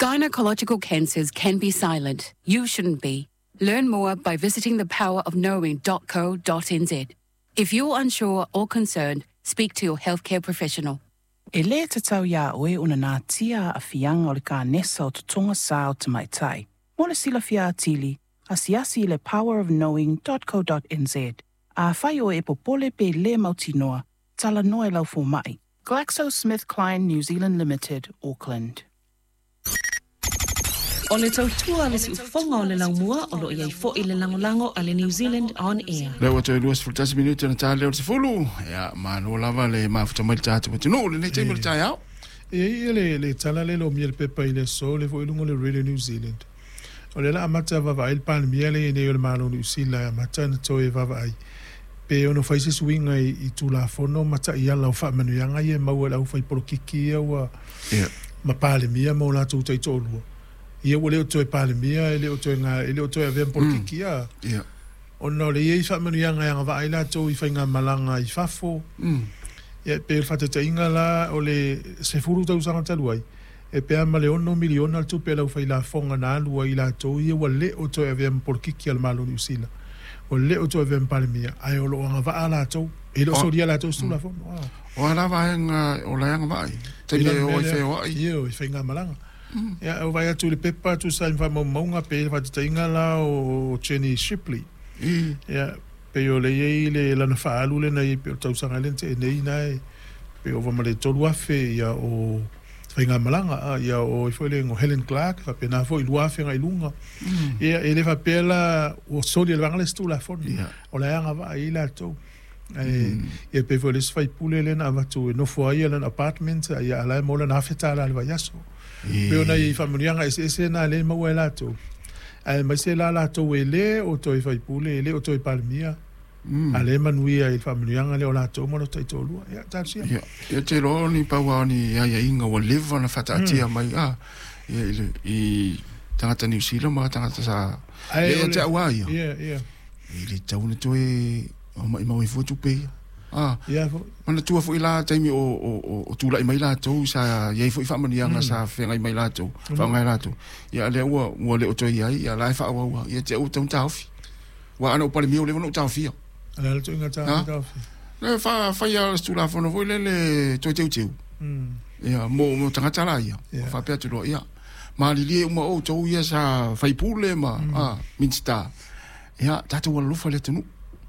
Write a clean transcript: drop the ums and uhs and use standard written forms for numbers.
Gynecological cancers can be silent. You shouldn't be. Learn more by visiting thepowerofknowing.co.nz. If you're unsure or concerned, speak to your healthcare professional. E lē tatau iā oe ona natia aafiaga o le kanesa o totoga sa o tamaitai. Mo le silafia atili, asiasi i le powerofknowing.co.nz. Afai oe e popole pe lē mautinoa, talanoa i lau fomaʻi. GlaxoSmithKline New Zealand Limited, Auckland. O le tautua a le siufofoga o le laumua o lo o i ai foi le lagolago a le New Zealand On Air. Lea ua toe 21 minute ona ta lea o le 10. Ia, malo lava le mafuta mai le tatou atunuu i lenei taimi o le taeao. E i ai le, le tala lea e lomia i le pepa i le aso, lea foi i luga o le Radio New Zealand. O lea la amata vaavaai le Palemia lea e i ai nei o le Malo o Niu Sila e amata ona toe vaavaai pe ono fai se suiga i Tulafono ma taiala o faamanuiaga ia e maua e le aufai polokiki ia ua ma Palemia ma o latou taitoalua. Ia ua le o toe Palemia, e le o toe e le o toe avea ma polokiki a. Ona o le i ai faamanuiaga e agavaa ai latou i faigamalaga i fafo. Ia e pei o le faataitaiga la o le 10 tausaga talu ai, e pe a ma le $6 miliona le tupe a le aufailafoga na alu ai i latou ia ua le o toe avea ma polokiki a le Malo o Niu Sila, ua le o toe avea ma Palemia, ae o lo o agavaa latou, e le o solia e latou se Tulafono. O a la vaega o la e agavaa ai? Taimi e o ai feoai? Ioe, i faigamalaga. Ia, e vaai atu i le pepa tusa ai ma faamaumauga, pei le faataitaiga la o Jenny Shipley. Ia, pei o lea e i ai le lana faaalu lea na i ai pei o le tausaga lea na tea nei na e pei ova ma le 3,000 ia o faigamalaga, ia o ai foi le o Helen Clark, faapena foi 2,000 agai i luga. Ia, e le faapea la ua soli e le vaega lea se Tulafono, o la e agavaa i ai latou. Ae ia pei foi o le isi faipule lea na avatu e nofo ai lana apartment, ia a o la e maua lana $1,000 i le vaiaso. E pei o nai faamanuiaga eseese na lea e maua e latou, aemaise la latou e le o toe faipule, e le o toe Palemia, a o lea e manuia i le faamanuiaga lea o latou ma lota taitoalua. Ia, talosia. Ia, ou te iloa o ni pau lava o ni aiaiga ua leva ona faataatia mai a, ia, i, le, i tagata Niu Sila ma tagata sa... Ae Ia, ia te au lava ia. Ia, ia. E le tatau ona toe maimau ai fua tupe ia. Ah, Ia foi. Manatua foi la taimi o, o, o, o tulai mai latou sa i ai foi faamanuiaga sa feagai mai latou, faaaoga e latou. Ia a lea ua, ua le o toe i ai, ia la e faaauau lava. Ia te au ua tatau ona taofi. Aua ana ou Palemia ua leva ona ou taofia. O le a le ituaiga taofi? Le fai lava o se Tulafono foi lele toe teuteu. Ia, mo, mo tagata la ia. Ia. Faapea atu loa, ia, malilie uma outou ia sa faipule ma, Minisita. Ia, tatou alolofa i le atunuu.